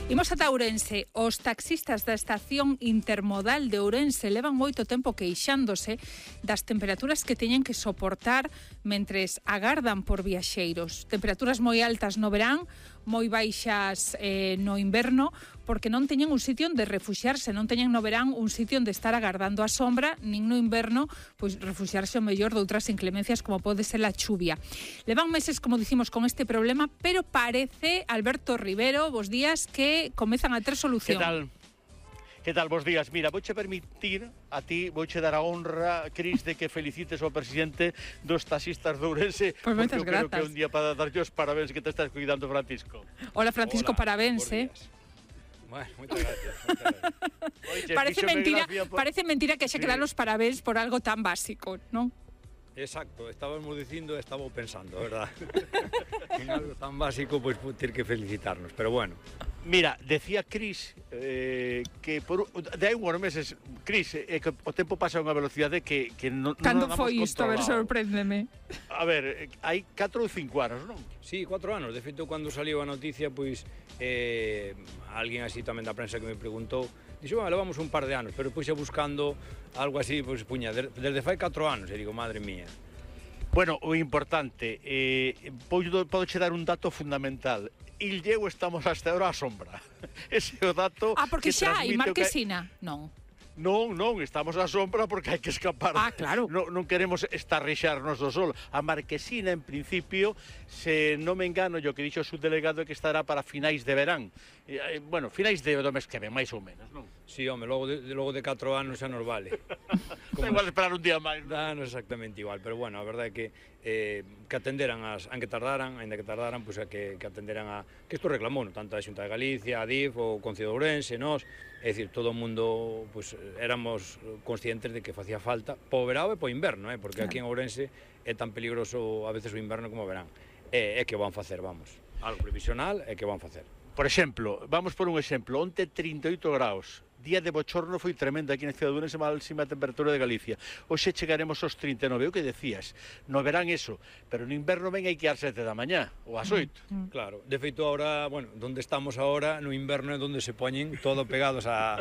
Imos ata Ourense. Os taxistas da estación intermodal de Ourense levan moito tempo queixándose das temperaturas que teñen que soportar mentres agardan por viaxeiros. Temperaturas moi altas no verán, moi baixas no inverno, porque non teñen un sitio onde refuxiarse, non teñen no verán un sitio onde estar agardando a sombra, nin no inverno, pois refuxiarse o mellor de outras inclemencias como pode ser a chuvia. Levan meses, como dicimos, con este problema, pero parece, Alberto Rivero, bos días, que comezan a ter solución. Que tal? Bos días. Mira, vouche permitir a ti, vouche dar a honra, Cris, de que felicites ao presidente dos taxistas de Ourense, pues porque eu creo que é un día para darlle os parabéns que te estás cuidando, Francisco. Hola, Francisco, Hola, parabéns, Bueno, moitas gracias. Oye, parece mentira que xe que dar os parabéns por algo tan básico, non? Exacto, estábamos dicindo e estaba pensando, verdad? En algo tan básico, pois ter que felicitarnos, pero bueno. Mira, decía Cris que de hai uns meses, Cris, que o tempo pasa a unha velocidade que non cando damos foi isto? A ver, controlado. sorpréndeme. A ver, hai 4 ou 5 anos, non? Sí, 4 anos. De feito, cando saliu a noticia, pois alguén así tamén da prensa que me preguntou, dixo, bueno, levamos un par de anos, pero pois buscando algo así, pois puña, desde fai 4 anos, e digo, madre mía. Bueno, o importante, podo che dar un dato fundamental. Illeu estamos hasta ahora á sombra. Ese é o dato porque que xa hai transmite Marquesina, non? Non, estamos á sombra porque hai que escapar. Claro. Non queremos estarrexarnos do sol. A Marquesina, en principio, se non me engano, o que dixo o subdelegado é que estará para finais de verán. Bueno, finais do mes que ven, máis ou menos, non? Sí, home, logo de 4 anos xa nos vale. Da igual esperar un día máis, non? Non exactamente igual, pero bueno, a verdade é que atenderan aínda que tardaran, pois que atenderan a... Que isto reclamou, tanto a Xunta de Galicia, a DIF, o Concello de Ourense, nós, é dicir, todo o mundo, pois, éramos conscientes de que facía falta po verao e po inverno, porque aquí en Ourense é tan peligroso a veces o inverno como o verán. É que van facer, vamos. Algo previsional é que van facer. Por exemplo, vamos por un exemplo, onte 38 graus, día de bochorno foi tremendo aquí na cidade de Ourense, máxima temperatura de Galicia. Hoxe chegaremos aos 39, o que decías, no verán eso, pero no inverno ven hai que ir ás 7 da mañá, ou ás 8. Claro, de feito ahora, bueno, donde estamos ahora, no inverno é donde se poñen todo pegados a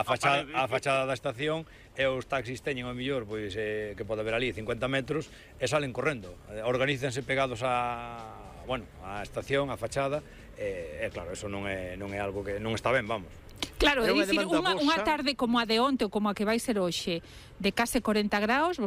fachada da estación, e os taxis teñen ao mellor, pois, que pode haber ali 50 metros, e salen correndo, organícense pegados a estación, a fachada, e claro, eso non é algo que non está ben, vamos. Claro, é dicir, unha tarde como a de onte ou como a que vai ser hoxe, de case 40 graus,